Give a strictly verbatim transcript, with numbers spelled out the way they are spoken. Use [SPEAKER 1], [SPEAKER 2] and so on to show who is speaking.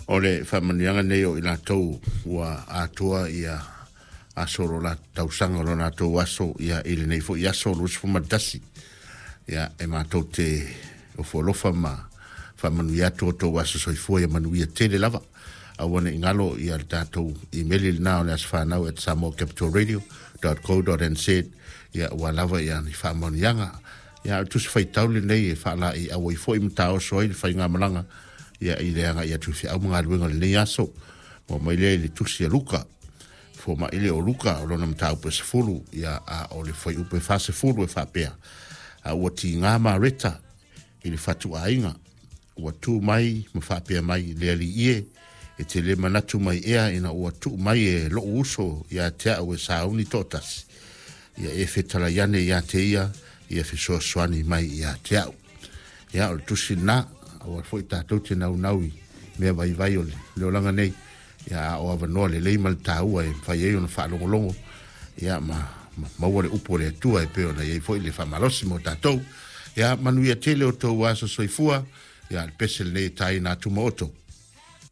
[SPEAKER 1] O le faamanuiaga lenei o i latou ua atoa ia aso o lo latou tausaga o lo latou aso ia i lenei foi aso luasefulu ma le tasi. Ia e matou te ofo alofa ma faamanuia atu outou aso soifua ia manuia tele lava. Aua ne i galo ia le tatou imeli lena o le asofanau at samoa capital radio dot co dot nz ia ua lava ia ni faamanuiaga. Ia o le tusi faitau lenei e faalaei auai foi ma taoso ai le faigamalaga ia i le agai atu i feau ma galuega o lenei aso. Ua mai lea i le tusi a Luka, fomai le o Luka o lona mataupu e sefulu, ia a o le fuaiupu e fasefulu e faapea, a ua tiga Mareta i le fatuaiga, ua tu mai ma faapea mai, le alii e, e te le manatu mai ea ina ua tuu mai e lou uso ia te au e sauni toatasi, ia e fetalai ane ia te ia, ia fesoasoani mai ia te au. Ia o le tusi lena, aua foi tatou te naunau i mea vaivai o le olaga nei, ia a o avanoa lelei ma le taua e mafai ai ona faalogologo, ia ma, ma maua le upu o le Atua e pei ona i ai foi le faamalosi mo tatou. Ia manuia tele o tou aso soifua, ia le pese lenei e taina atu ma oto.